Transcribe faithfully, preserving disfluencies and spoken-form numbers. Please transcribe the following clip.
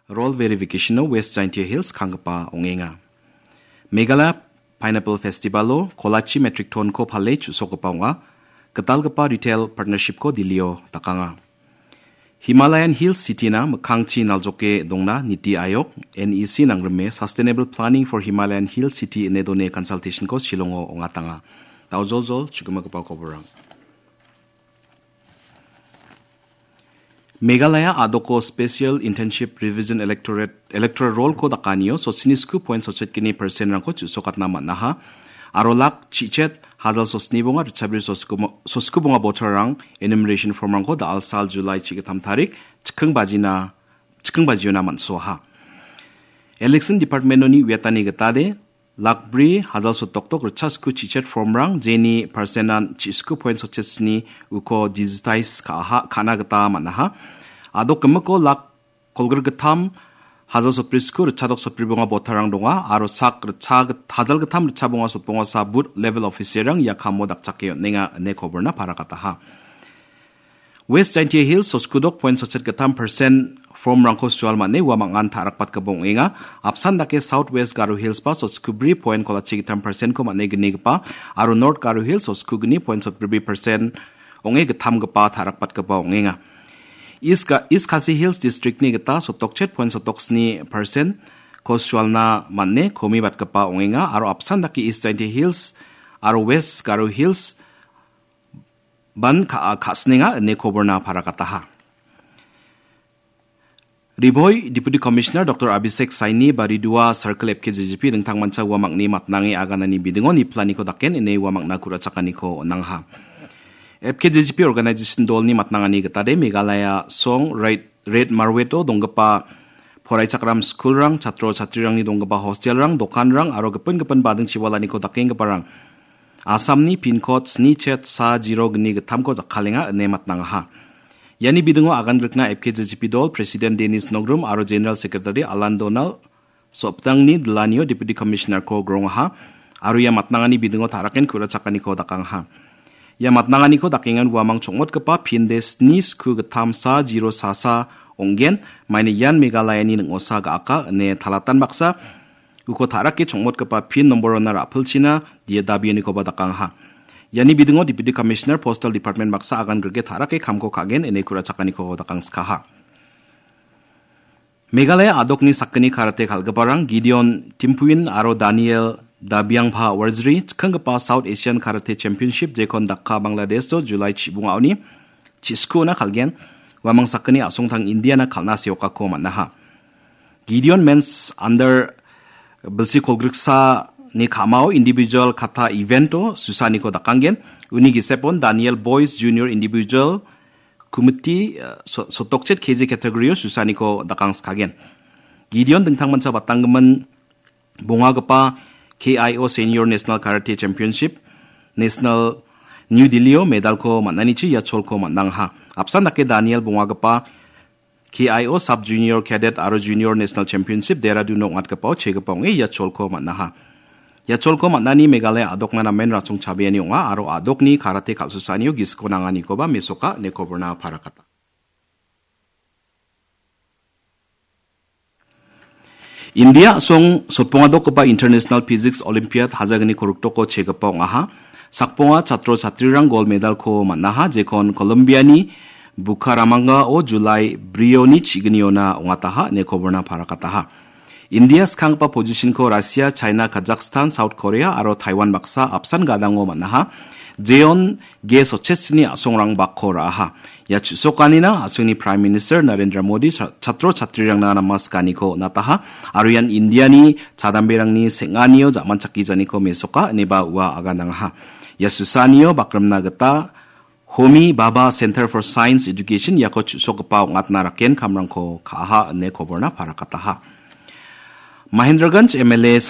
Role verification-o West Jaintia Hills kanggipa ong·enga. Meghalaya Pineapple Festival-o kolachi metric ton-ko pale chu·sokgipa ong·a. Gitalgipa retail partnership-ko Delhi-o dakanga. Himalayan Hills City-na mikkangchi naljoke dongna Niti Ayog, N E C nangrime Sustainable Planning for Himalayan Hills City ine done consultation-ko Shillong-o ong·atanga. Daojoljol chugimagipa koborrang. Meghalaya a·doko Special Intensive Revision Electorate, Electoral Roll-ko dakanio sochini sku point sochekgni percent-rangko chu·sokatna man·aha. Aro lak chichet hajal sosni bonga ritchabri sosku mo-, sosku bonga voter-rang enumeration form-rangko da·alsal July chigittam tarik chikking bajina, chikking bajiona man·soaha. Election Department-oni uiatani gitade, lakbri hajal sotoktok ritchasku chichet form-rang jeni percent-an chisku point sochesni uko digitize ka·aha, ka·na gita man·aha. A·dok gimiko lak kolgrikgittam hajal sotbrisku ritchadok sotbribonga voter-rang donga, aro sak ritcha git-, hajal gittam ritchabonga sotbongasa booth level officer-rang ia kamo dakchake on·enga ine koborna parakataha. West Jaintia Hills soskudok point sotchet gittam percent form-rangko sual man·e ua mangan ta·rakbatgipa ong·enga. Apsan dake South West Garo Hills-ba soskubri point kolachi gittam percent-ko man·e gnigipa aro North Garo Hills soskugni point sotbribri percent ong·e gittamgipa ta·rakbatgipa ong·enga. East Ga-, East Khasi Hills District-ni gita sotokchet point sotoksni percent-ko sualna man·e komibatgipa ong·enga aro apsan dake East Jaintia Hills aro West Garo Hills ban ka-, ka·sinenga ine koborna parakataha. Riboi Deputy Commissioner Doctor Abhishek Saini ba Ridua Circle F K J G P dingtangmancha ua mangni matnange aganani bidingo niplaniko daken ine ua mangna ku·rachakaniko on·angha. F K J G P organization dolni matnangani gitade Meghalaya song Red, Red Marwet-o donggipa poraichakram skulrang, chatro chatrirangni donggipa hostelrang, dokanrang aro gipin gipin bading chiwalaniko dakenggiparang Assamni pin code sni chet sa zero gni gittamko jakkalenga ine matnangaha. Iani bidingo agan grikna F K J G P dol President Dennis Nogrum aro General Secretary Alan Donald Soptangni dilanio Deputy Commissioner-ko grongaha aro ia matnangani bidingo ta·raken ku·rachakaniko dakangaha. Ia matnanganiko dakengan uamang chongmotgipa pin de sni sku gittam sa zero sa sa ong·gen, maina ian Meghalayani ning·osa ga·aka ine talatan baksa uko ta·rake chongmotgipa pin nombor-ona ra·pilchina dia dabianikoba dakangaha. Iani bidingo Deputy Commissioner Postal Department baksa agan grike ta·rake kamko ka·gen ine ku·rachakaniko dakangskaha. Meghalaya a·dokni sakgni karate kal·giparang Gideon Timpuin aro Daniel Dabiangpha Warjri chikkanggipa South Asian Karate Championship jekon Dhaka, Bangladesh-o July chibongaoni chiskuona kal·gen, uamang sakgni a·songtang Indiana kal·na seokako man·aha. Gideon Men's Under bilsi kolgriksani ka·mao individual kata event-o susaniko dakanggen. Uni gisepon Daniel Boys Junior Individual Kumiti, eh, so-, sotokchet K G category-o susaniko dakangskagen. Gideon dingtangmancha batanggimin bongagipa K I O Senior National Karate Championship, National New Delhi-o medalko man·anichi ia cholko man·angaha. Apsan dake Daniel bongagipa K I O Sub Junior Cadet aro Junior National Championship Dehradun-o ong·atgipao chegipa ong·e ia cholko man·aha. Ia cholko man·ani Meghalaya a·dokna namen rasong chabeani ong·a aro a·dokni karate kal·susaanio gisiko nanganikoba mesoka ine koborna parakata. India a·song sotpongadokgipa International Physics Olympiad hajagni korokdoko chegipa ong·aha. Sakbonga chatro chatrirang gol medalko man·aha, jekon Colombiani Bucaramanga-o July brioni chigniona ong·ataha ine koborna parakataha. India skanggipa position-ko Russia, China, Kazakhstan, South Korea aro Taiwan baksa apsan gadango man·aha. Jeon ge sochesini a·songrang bakko ra·aha. Ia chu·sokanina a·songni Prime Minister Narendra Modi cha-, chatro chatrirangna namaskaniko on·ataha aro ian Indiani chadamberangni seng·anio ja·manchakijaniko mesoka ineba ua aganangaha. Ia susanio bakrimna gita Homi Bhabha Center for Science Education iako chu·sokgipa ong·atna raken kamrangko ka·aha ine koborna parakataha. Mahendraganj M L A